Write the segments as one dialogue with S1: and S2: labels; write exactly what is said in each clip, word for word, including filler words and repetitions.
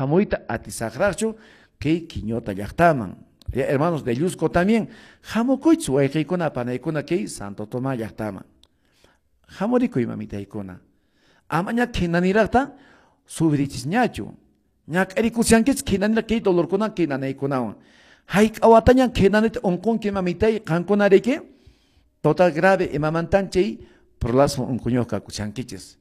S1: Hamuyta atisaqraqchu kay Quiñota llaqtaman. Ya, hermanos de Llusco también, hamukuychis wayqiykuna panaykuna kay Santo Tomás llaqtaman. Hamurikuy mamitaykuna. Amaña khinaniraqta sufrichisñachu. Ñak'arikushankichis khinaniraq kay dolorkuna kay nanaykunawan. Hayk'a watañan khinanita unqunki mamitay qankuna riki? Total grave imamantan chay prolapso unquñuq kakushankichis.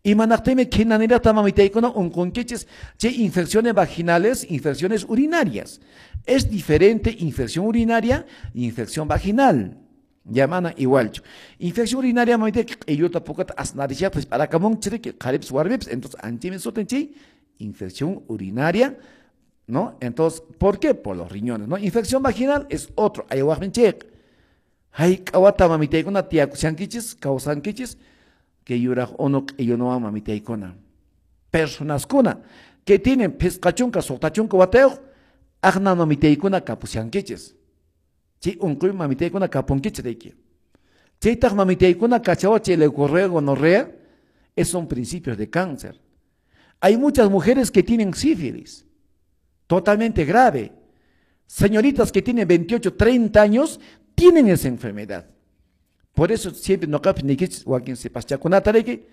S1: Imanaqtimi khinaniraqta mamitaykuna unqunkichis chay infecciones vaginales, infecciones urinarias. Es diferente infección urinaria e infección vaginal. Llamana igualchu. Infección urinaria mamitay q'illuta pukata asnarishaqpis p'arakamun chiriki qharipis warmipis, entonces anchimi sutin chay infección urinaria, ¿no? Entonces, ¿por qué? Por los riñones, ¿no? Infección vaginal es otro, aywaqmin chayqa. Hayk'a wata mamitaykuna tiyakushankichis, kawsankichis, que yuraq unu q'illunuwan mamitaykuna. Personaskuna que tienen phisqa chunka, suqta chunka watayuq, aqna mamitaykuna kapushankichis. Chay unquy mamitaykuna kapunkichis riki. Chaytaq mamitaykuna kachawa chay leucorrea, gonorrea, es son principios de cáncer. Hay muchas mujeres que tienen sífilis, totalmente grave. Señoritas que tienen veintiocho, treinta años, tienen esa enfermedad. Por eso siempre noqapis niykichis wakin sipaschakunata riki,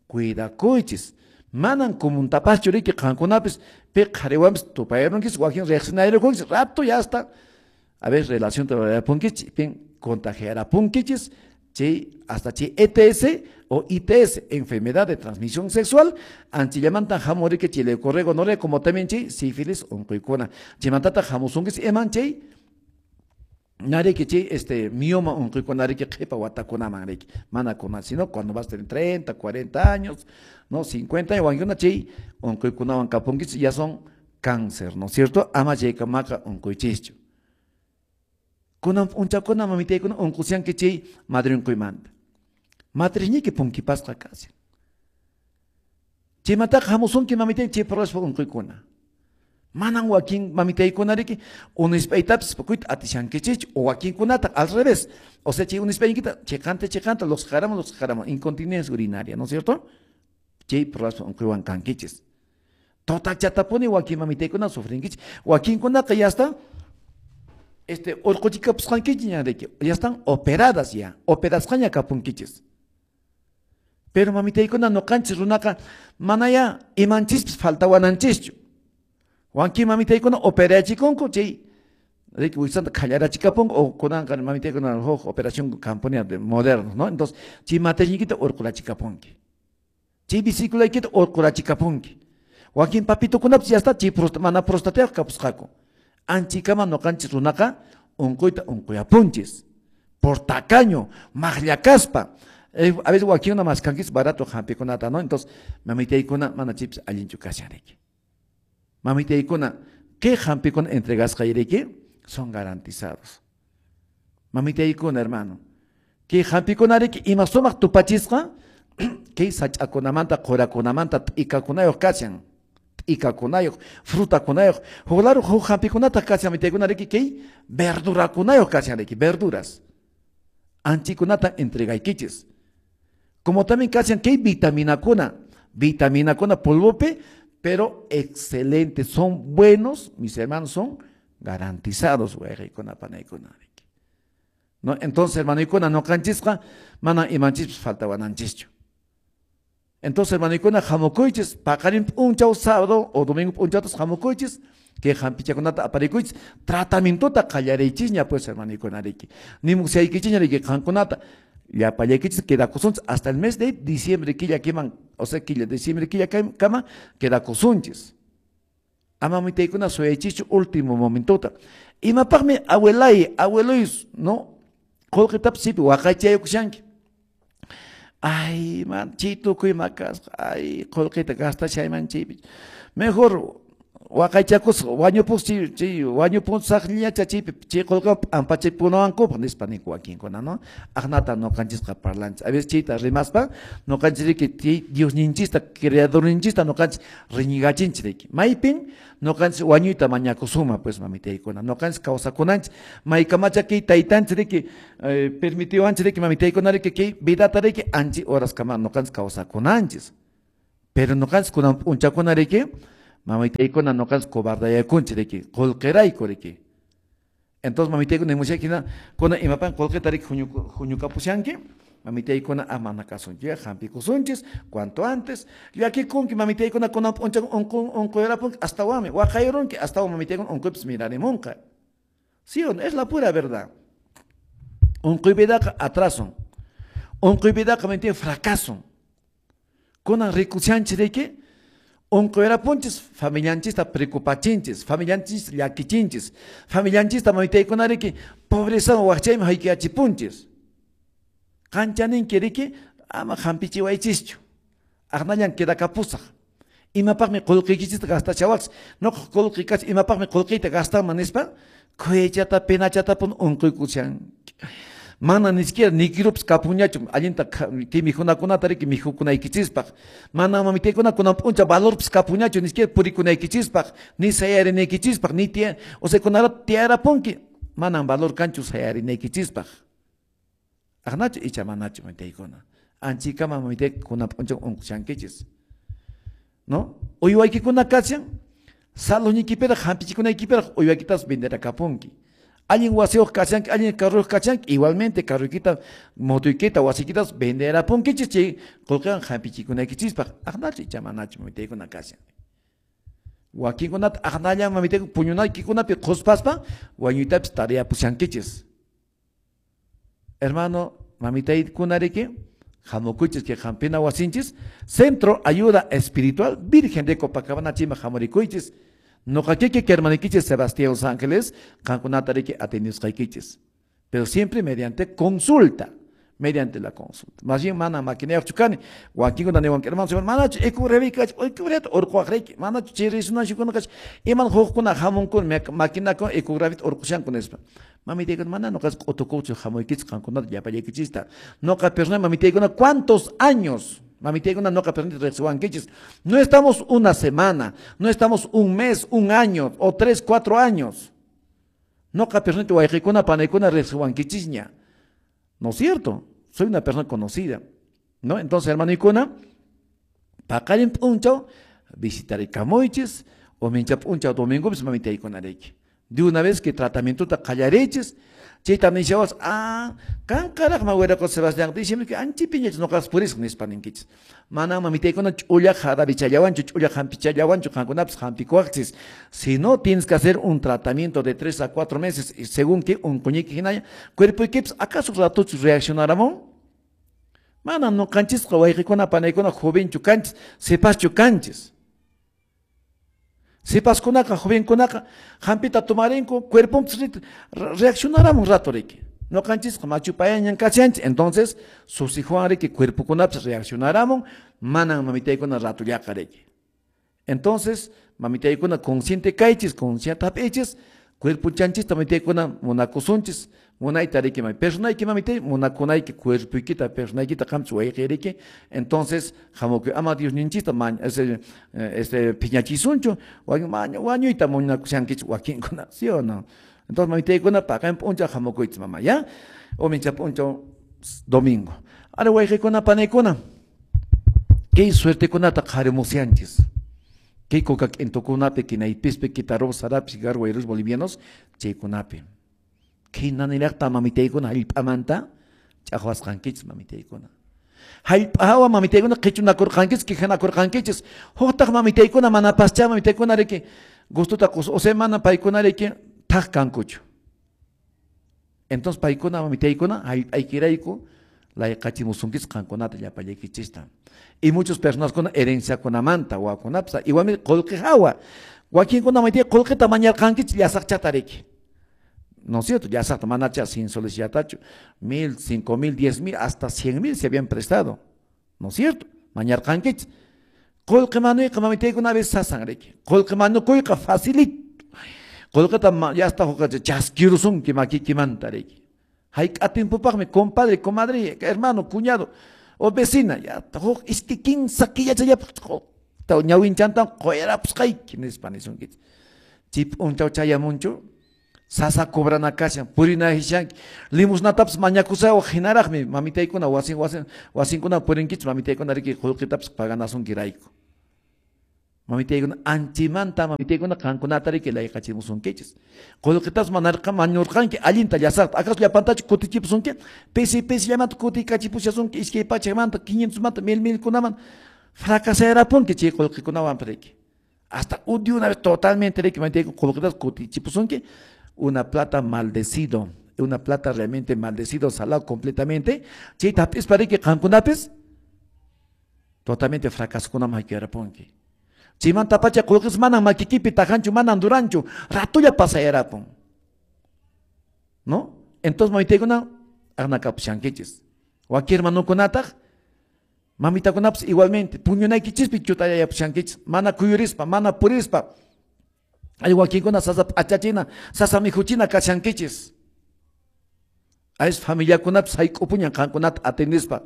S1: cuidakuychis. Manan kumuntapachu riki qankunapis pi qhariwanpis tupayarunkichis, wakin riqsinayarunkichis, rato ya hasta a ver relación rurapunkichis, pin contagiarapunkichis, chay hasta chay E T S o I T S, enfermedad de transmisión sexual, anchillamantan hamuriki chay leucorrea, gonorrea, como también chay sífilis unquykuna. Chaymantata hamusunkichis iman chay nariki chay este mioma unquykuna riki qhipa watakunaman riki, mana kuna, sino cuando vas a tener treinta, cuarenta años, no, cincuenta años, wankuna chay unquykunawan kapunkichis, ya son cáncer, ¿no es cierto? Ama chaykamaqa unquychischu. Kunan p'unchakuna mamitaykuna unqusyanki chay madre unquymanta. Matrizniyki punkipasqa kashan. Chaymantaqa hamusunki mamitay chay prolapso unquykuna. Manan wakin mamitaykuna riki unispaytapis pukuyta atishankichikchu, o wakinkunata al revés. O sea, chay unispaynikita chiqanta chiqanta los jaramos, los jaramos, incontinencia urinaria, ¿no es cierto? Chay prolapso unquywan kankichis. Total chatapuni wakin mamitaykuna sufrinkichik. Wakinkunaqa ya está este urquchikapusqankichik ña riki, ya están operadas ya, operasqaña kapunkichis. Pero mamitaykuna noqanchis runaqa manaya imanchispis faltawananchischu. Wanki mamitaykuna operachikunku chay riki wisanta khallarachikapunku o kunanqa mamitaykuna huk operación camponia de modernos, ¿no? Entonces chay matriñiykita urqurachikapunki. Chay vesiculaykita urqurachikapunki. Wakin papitukunapis ya está chay prosta, mana prostatayuq kapusqaku. Anchikama noqanchis runaqa unquyta unquyapunchis. Por tacaño, maqllakaspa. Eh, a veces wakinkuna maskankichis barato hampikunata, ¿no? Entonces mamitaykuna mana chaypis allinchu kashan riki. Mamitaykuna, ¿qué hampikuna entregasqayriki? Son garantizados. Mamitaykuna, hermano, ¿qué hampikuna riki ima sumaq tupachisqa? Kay sach'akunamanta, qurakunamanta, t'ikakunayuq kashan. T'ikakunayuq, frutakunayuq. Huk lado huk hampikunata kashan, mamitaykuna riki, kay verdurakunayuq kashan riki, verduras. Anchikunata entregaykichis. Como también kashan kay vitaminakuna, vitaminakuna polvopi, pero excelentes, son buenos, mis hermanos, son garantizados, wayqaykuna, panaykuna. ¿No? Entonces, hermanoykuna, noqanchisqa mana imanchispas faltawananchischu. Entonces, hermanoykuna, hamukuychis, paqarin p'unchaw sábado o domingo p'unchawtas hamukuychis, que hampichakunata aparikuychis, tratamientota qallariychisña, pues, hermanoykuna, riki. Nimusyaykichishña, riki, qankunata, llapallaykichis quedakusunchis hasta el mes de diciembre, killa kiman, o sea, killa, diciembre, killa kama, quedakusunchis. Ama mitaykuna suyaychischu último momentota. Imapaqmi abuelay, abueloy, ¿no? Qullqitapis sipi waqaychayukushanki. Ay, man, chay tukuy makasqa, ay, qullqita gastashayman chaypi. Mejor waqaychakusqa, wañupus chay, chay, wañupunsaqllacha chaypi, chay qullqa p'ampachaypunawankupaq nispa ninku wakinkuna, ¿no? Aqnata noqanchisqa parlanchis. A veces chayta rimaspa, noqanchis riki chay Diosninchista, creadorninchista noqanchis riñigachinchis riki. Maypin noqanchis wañuyta mañakusuma, pues, mamitaykuna. Noqanchis kawsakunanchis, maykamacha kay taytanchis riki, eh, permitiwanchis riki, mamitaykuna riki, kay vidata riki, anchi horaskama noqanchis kawsakunanchis. Pero noqanchis kunan p'unchakuna riki, Mamitaykuna noqanchis cobardayakunchis riki, qullqirayku riki. Entonces mamitaykuna nimushakina, kuna imapan qullqita riki huñukapushanki, mamitaykuna amana kasunchis, hampikusunchis, cuanto antes, llakikunki mamitaykuna kunan p'unchaw unquyrapunki astawanmi, waqayrunki astawan mamitaykuna unquypis mirarimunqa. ¿Sí o no? Es la pura verdad. Unquy vidaqa atraso. Unquy vidaqa mamitaykuna fracaso. Kunan rikushanchis riki, unquyrapunchis familianchista preocupachinchis, familianchis llakichinchis, familianchista mamitaykuna riki, pobreza waqchayman haykiachipunchis. Qanchaninki riki, ama hampichiwaychischu. Aqnallan quedakapusaq. Imapaqmi qullqiykichista gastachawaqchis, noqa qullqi kach imapaqmi qullqiyta gastanman nispa, khuyachata penachatapun unquykushanki. Mana ni siquiera nikirupas kapunñachu allinta kay mikhunakunata riki mikhukunaykichispaq. Mana mamitaykuna kunan p'unchaw valorpas kapunñachu ni siquiera purikunaykichispaq, ni sayarinaykichispaq, ni tiya, o sea kunarato tiyarapunki, manan valor kanchu sayarinaykichispaq. Aqnachu icha manachu mamitaykuna. Anchikama mamitay kunan p'unchaw unqushankichis. ¿No? Uywaykikuna kashan, saluniykipiraq hampichikunaykipiraq uywaykitas venderakapunki. Allin wasiyuq kashanki, allin carruyuq kashanki, igualmente carruykita, motoykita, wasiykitas venderapunkichis chay qullqiwan hampichikunaykichispaq. Aqnachu icha manachu mamitaykuna kashan. Wakinkunata aqnallan mamitaykuna puñunaykikunapi qhuspaspa wañuytapis tariyapushankichis. Hermano, mamitaykuna riki, hamukuychis kay hampina wasinchis, Centro Ayuda Espiritual Virgen de Copacabana chima hamurikuychis. Noqa kiki hermanikichis Sebastián Los Ángeles, qankunata riki atendisqaykichis. Pero siempre mediante consulta, mediante la consulta. Más bien mana maquinayuqchu kani, wakinkuna niwanki, hermano, manachu ecografía ecografía urquwaq riki, manachu chay resonanciakuna kach, iman hukkuna hamunkuna maquinakuna ecografía urqushanku nispa. Mamitaykuna mana noqas q'utukuqchu hamuykichis qankunata llapallaykichista. Noqa persona mamitaykuna ¿cuántos años? Mamitaykuna noqa persona riqsiwankichis. No estamos una semana, no estamos un mes, un año o tres, cuatro años. Noqa persona wayqikuna panaykuna riqsiwankichisña. ¿No es cierto? Soy una persona conocida, ¿no? Entonces, hermano, paqarin p'unchaw visitarikamuchis o mincha p'unchaw domingo pues mamitaykuna riki. De una vez que tratamiento ta qallarichis, chayta nishawas, ah, qanqaraqma wiraqo Sebastián, dicen que anchipiñach noqas purisaq nispa ninkichis. Mana mamitaykuna ch'ulla jarabichallawanchu, ch'ulla hampichallawanchu, qankunapis hampikuwaqchis. Si no, tienes que hacer un tratamiento de tres a cuatro meses, y según que unquñiki hinalla, cuerpoykipis acaso ratuchus reaccionaramon? Mana noqanchisqa wayqikuna panaykuna jovenchu kanchis, sipaschu kanchis. Sipaskunaqa, jovenkunaqa, hampita tomarinku, cuerponpis reaccionaramun rato riki. Noqanchisqa machupayañan kashanchis, entonces susijuan riki cuerpokunapis reaccionaramun, manan mamitaykuna ratullaqa riki. Entonces, mamitaykuna consciente kaychis, consciente hap'ichis, cuerpochanchista mamitaykuna munakusunchis, munayta riki may personayki mamitay, munakunayki cuerpoykita, personaykita qamchis wayqi riki. Entonces, hamukuy ama Diosninchista mañ, ese, este phiñachisunchu, wañuyta munakushankichis wakinkuna, ¿sí o no? Entonces, mamitaykuna paqan p'unchaw hamukuychis mama, ¿ya? O mincha p'unchaw domingo. Ahora wayqikuna panaykuna, kay suertekunata qharimusyanchis. Kay coca k'intukunapi, kinaypispi, kitarup, sarapi, garwayrus bolivianos, chaykunapi. Kay naniraqta mamitaykuna hallp'amanta ch'aqwasqankichis mamitaykuna. Hallp'ahawa mamitaykuna qichunakurqankichis, quejanakurqankichis. Huqtaq mamitaykuna manapaschá mamitaykuna riki gustuta qus, o sea mana paykuna riki thaq kankuchu. Entonces paykuna mamitaykuna hallp'aykirayku layqachimusunkichis qankunata llapallaykichista. Y muchas personas con herenciakunamanta wawakunapis igualmente qullqi hawa. Wakinkuna mamitay qullqita mañarqankichis llasaqchata riki. ¿No es cierto? Llasaqta manacha cien soles yatachu, mil, cinco mil, diez mil, hasta cien mil se habían prestado. ¿No es cierto? Mañarqankichis. Qullqi manuyqa mamitaykuna a veces sasan riki. Qullqi manukuyqa facilito. Qullqita ya hasta chaskirusunki makikimanta riki. Hayk'a tiempopaqmi compadre, comadre, hermano, cuñado o vecina, ya huk iskay kinsa killachallapaq ñawinchantan quyarapusqayki nispa nisunkichis. Chay p'unchaw chayamunchu, sasa cobrana kashan, purinahishanki, limosnatapas mañakusawaq hinaraqmi mamitaykuna wasin wasin wasinkuna purinkichis mamitaykuna riki qullqitapas paganasunki rayku. Mamitaykuna anchimanta mamitaykuna qankunata riki layqachimusunkichis. Qullqitas manarqa mañurqanki allinta llasaqta. Acaso llapantachu kutichipusunki? Pisi pisillamanta kutikachipushasunki iskay pachakmanta quinientosmanta mil milkunaman fracasarapunki chay qullqikunawan riki. Hasta de una vez totalmente riki mamitaykuna qullqitas kutichipusunki. Una plata maldecido, una plata realmente maldecido, salado completamente. Chayta hap'ispa riki qankunapis totalmente fracasokunaman haykarapunki. Chaymanta pacha qullqis manan makikipi tajanchu, manan duranchu, ratulla pasayarapun. ¿No? Entonces mamitaykuna aqnakapushankichis. Wakin hermanukunataq mamitakunapas igualmente puñunaykichispi chutayayapushankichis, mana kuyurispa, mana purispa. Hay wakinkuna sasa p'achachina, sasa mikhuchina kashankichis. Ay familiakunapas hayk'upuñan qankunata atendispa.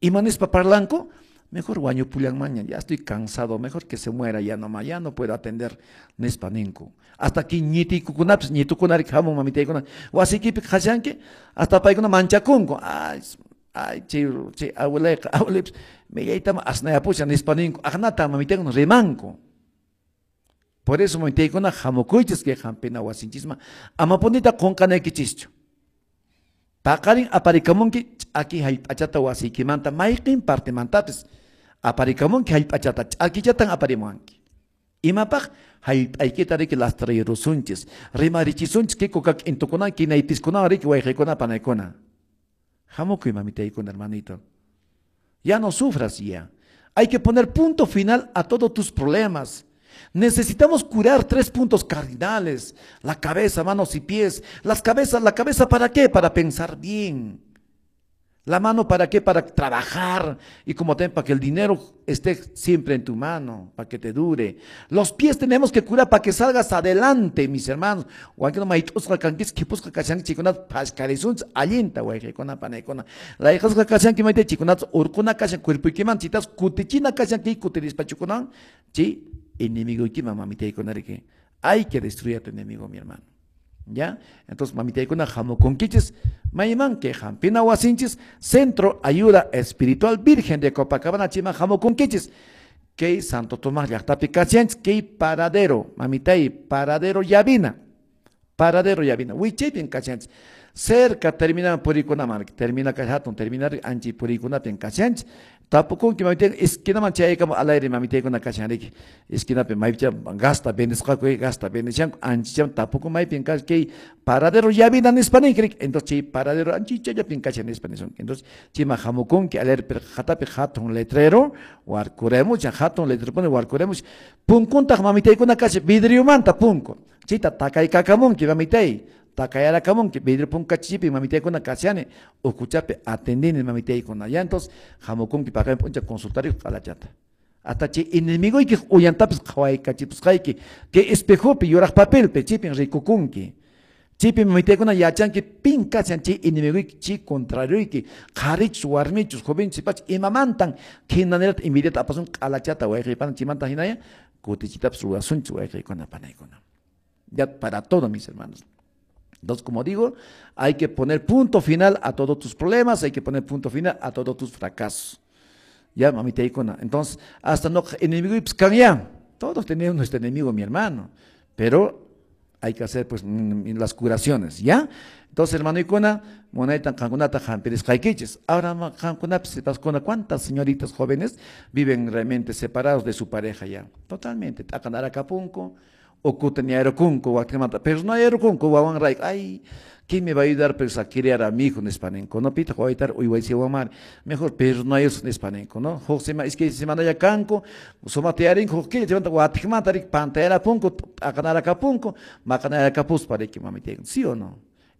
S1: Ima nispa parlanku? Mejor wañupullanmaña, ya estoy cansado, mejor que se muera ya nomás, ya no puedo atender nispa ninku. Hasta aquí ñitikukunapis, ñitukunarik hamun mamitaykuna, wasikipi qhashanki, hasta paykuna manchakunku. Ay, ay, chay, chay abuelayqa, abuelaypis, millaytama asnayapushan nispa ninku, aqnata mamitaykuna rimanku. Por eso mamitaykuna hamukuychis kay hampina wasinchisman, amapunita qunqanaykichischu. Paqarin aparikamunki ch'aki hallp'achata wasiykimanta mayqin partimantapis aparikamunki hallp'achata ch'akichatan aparimuwanki. Imapaq hallp'aykita riki lastrayrusunchis, rimarichisunchis kay kukak intukuna kinaypiskuna riki wayqiykuna panaykuna. Hamukuy mamitaykuna hermanito. Ya no sufras ya. Hay que poner punto final a todos tus problemas. Necesitamos curar tres puntos cardinales: la cabeza, manos y pies. Las cabezas, ¿la cabeza para qué? Para pensar bien. La mano para qué? Para trabajar y como también para que el dinero esté siempre en tu mano, para que te dure. Los pies tenemos que curar para que salgas adelante, mis hermanos. Enemigo hay que destruir a tu enemigo, mi hermano. ¿Ya? Entonces, mamitaykuna hamukunkichis, mayman que hampina wasinchis, Centro Ayuda Espiritual Virgen de Copacabana, chima hamukunkichis, que Santo Tomás llaqtapi kashanchis, que paradero, mamitay, paradero Llavina, paradero Llavina, wichaypin kashanchis, cerca termina purikuna, termina kashatun, termina anchi purikunapin kashanchis, tapukunki mamitay, esquinaman chaykama al aire mamitaykuna kashanriki, esquinapi maypicha gasta vendisqaku, gasta vendishanku, anchicham tapukun maypin kash, kay paradero Llavina nispa ninkirik, entonces chay paradero anchichallapin kashan nispa nisunki, entonces chima hamukunki al aire perqatapi hatun letrero, warkuremuch, hatun letrero pone warkuremuch, punkuntaq mamitaykuna kashan, vidriomanta punku, chayta takaykakamunki mamitay, takayarakamunki vidrio punkachipi mamitaykuna kashani, ukuchapi atendini mamitaykuna, ya entonces hamukunki paqarin p'uncha consultario q'alachata. Hasta chay enemigoykiq uyantapis qhawaykachipusqayki, kay espejopi yuraq papelpi chaypin rikukunki. Chaypi mamitaykuna yachanki pin kashan chay enemigoyki, chay contrarioyki, qharichus warmichus jovenchus sipachus imamantan khinanirata envidiata apasun q'alachata wayqiypana chaymanta hinaya kutichitapis ruwasunchis wayqiykuna panaykuna. Ya para todo, mis hermanos. Entonces, como digo, hay que poner punto final a todos tus problemas, hay que poner punto final a todos tus fracasos. Ya, mamitaykuna. Entonces, hasta no enemigo y pues, ya. Todos tenemos nuestro enemigo, mi hermano. Pero hay que hacer pues las curaciones, ¿ya? Entonces, hermano ikuna, munaytan qankunata hampirisqaykichis. Ahora, qankunapis, ¿cuántas señoritas jóvenes viven realmente separados de su pareja ya? Totalmente. T'aqanarakapunku, ukuta ñarukunku, wakmanta, pero no yarukunku, wawan rayku, ay, ¿quién me va a ayudar pues, a criar a mi hijo nispaninku? No pitaq wawaytar uywaysiwanmari, mejor pero no hay eso nispaninku, no? Huk sema, iskay semana ya kanku, sumaqta yarinku, huk killa chaymanta watiqmanta riki pantayarapunku, t'aqanarakapunku, maqanarakapuspa riki mamitayku, ¿sí o no?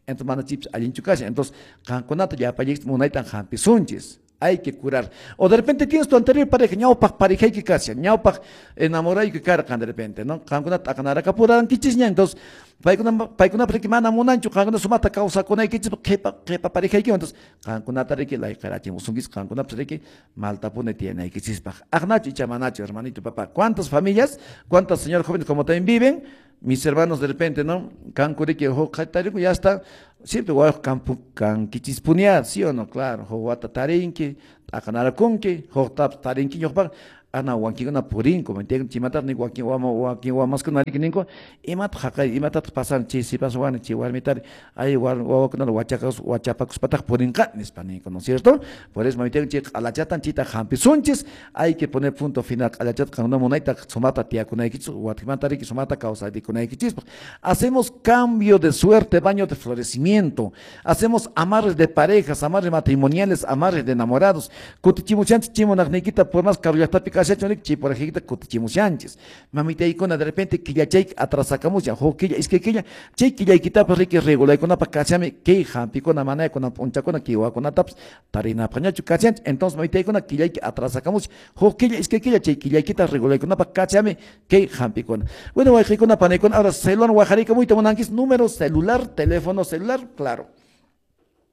S1: Entonces mana chipis allinchu kashan, entonces qankunata llapallaykichis munaytan hampisunchis. Hay que curar. O de repente tienes tu anterior pareja, ñawpaq parejayki kashan, ñawpaq enamorayki karqan de repente, ¿no? Qankuna t'aqanarakapurankichis ña, entonces paykuna paykuna riki mana munanchu qankuna sumaqta kawsakunaykichis qhipa qhipa parejayki, entonces qankunata riki layqarachimusunkichis, qankunapas riki maltapuni tiyanaykichispaq. Aqnachu icha manachu, hermanito, papá. ¿Cuántas familias, cuántas señores jóvenes como también viven? Mis hermanos de repente, ¿no? Kanku riki huk qhatariku ya está, siempre wayuq kampu kankichispunia, ¿sí o no? Claro, huk wata tarinki, t'aqanarakunki, huktapas tarinki ñuqpaq, Ana wakinkuna purinku, chaymantaqa ninku wakin wama wakin wamaskuna riki ninku imataq haqay imatataq pasan chay sipaswan chay warmitari ay wawakunata wachakas wachapakuspataq purinqa nispa ninku, ¿no es cierto? Por eso mamitaykuna chay q'alachatan chayta hampisunchis, hay que poner punto final q'alachata qamkuna munayta sumaqta tiyakunaykichis watikmanta riki sumaqta kawsarikunaykichispaq. Hacemos cambio de suerte, baño de florecimiento, hacemos amarres de parejas, amarres matrimoniales, amarres de enamorados, kutichimushanchis chimunaqniykita por más karu llaqtapi kashachu chay porajikita kutichimushanchis. Mamitaykuna de repente killachayki atrasakamushan huk killa iskay killa chay killaykitapas riki regulaykunapaq kachami kay hampikuna manayakuna p'unchakuna kiwakunatapas tarinapaqñachu kachanchis. Entonces mamitaykuna killayki atrasakamushan huk killa iskay killa chay killaykita regulaykunapaq kachami kay hampikuna. Bueno, wayqiykuna panaykuna, ahora celular waqarikamuyta munankis número celular, teléfono celular, claro.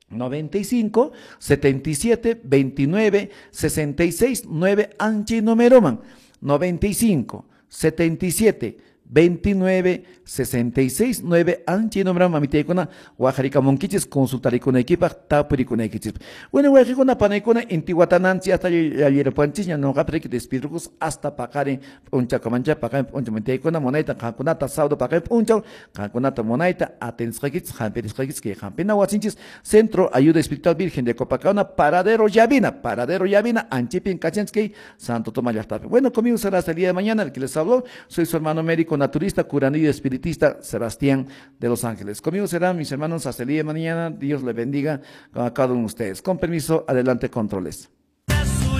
S1: noventa y cinco, setenta y siete, veintinueve, sesenta y seis, nueve, anchi numeroman. noventa y cinco, setenta y siete, veintinueve, sesenta y seis, nueve, anchi numeroman. Mamitaykuna waqarikamunkichis consultarikunaykipaq tapurikunaykichis. Bueno, wayqiykuna panaykuna intiwatananchis hasta llallirapuanchisña noqapi riki despidrukus hasta paqarin p'unchakamancha paqarin p'unchaw mamitaykuna munayta qankunata sábado paqarin p'unchaw qankunata munayta atendisqaykichis hampirisqaykichis kay hampina wasinchis Centro Ayuda Espiritual Virgen de Copacabana, Paradero Llavina, Paradero Llavina, Anchipin kachanchis kay Santo Tomás llaqtapi. Bueno, conmigo será hasta el día de mañana. El que les habló, soy su hermano médico naturista, curandero y espiritista Sebastián de Los Ángeles. Conmigo serán mis hermanos hasta el día de mañana. Dios le bendiga a cada uno de ustedes. Con permiso, adelante controles.